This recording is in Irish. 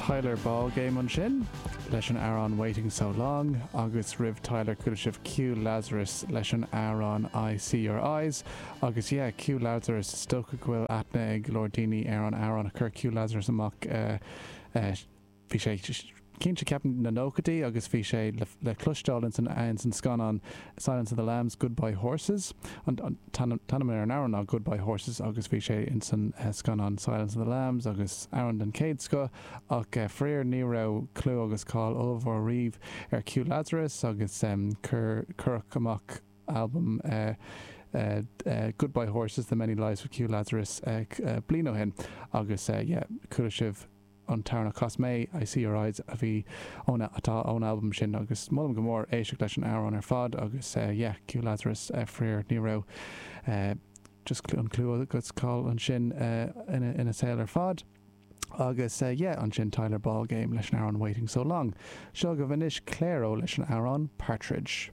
Tyler Ballgame ansin leis an amhrán Waiting So Long agus roimh Tyler chuala sibh Q Lazarus leis an amhrán I See Your Eyes agus yeah Q Lazarus is dócha go bhfuil aithne ag go leor daoine ar an amhrán a chuir Q Lazarus amach eh eh Bhí sé cinnte, ceapaim, na nóchaidí agus bhí sé le cloisteáil ins an scannán Silence of the Lambs, Goodbye Horses. An t-ainm ar an amhrán ná Goodbye Horses agus bhí sé ins an scannán Silence of the Lambs agus amhrán den chéad scoth ach faraor ní raibh clú agus cáil ollmhór riamh ar Q Lazarus agus cuireadh amach albam Goodbye Horses, The Many Lives of Q Lazarus bliain ó shin agus yeah chuala sibh an t-amhrán a chas mé, I See Your Eyes, a bhí ón, atá ón albam sin agus molaim go mór éisteacht leis an amhrán ar fad agus yeah, Q Lazarus, faraor ní raibh just an clú agus cáil ansin ina, ina saol ar fad. Agus yeah, ansin Tyler Ballgame leis an amhrán Waiting So Long. Seo agaibh anois Clairo leis an amhrán Partridge.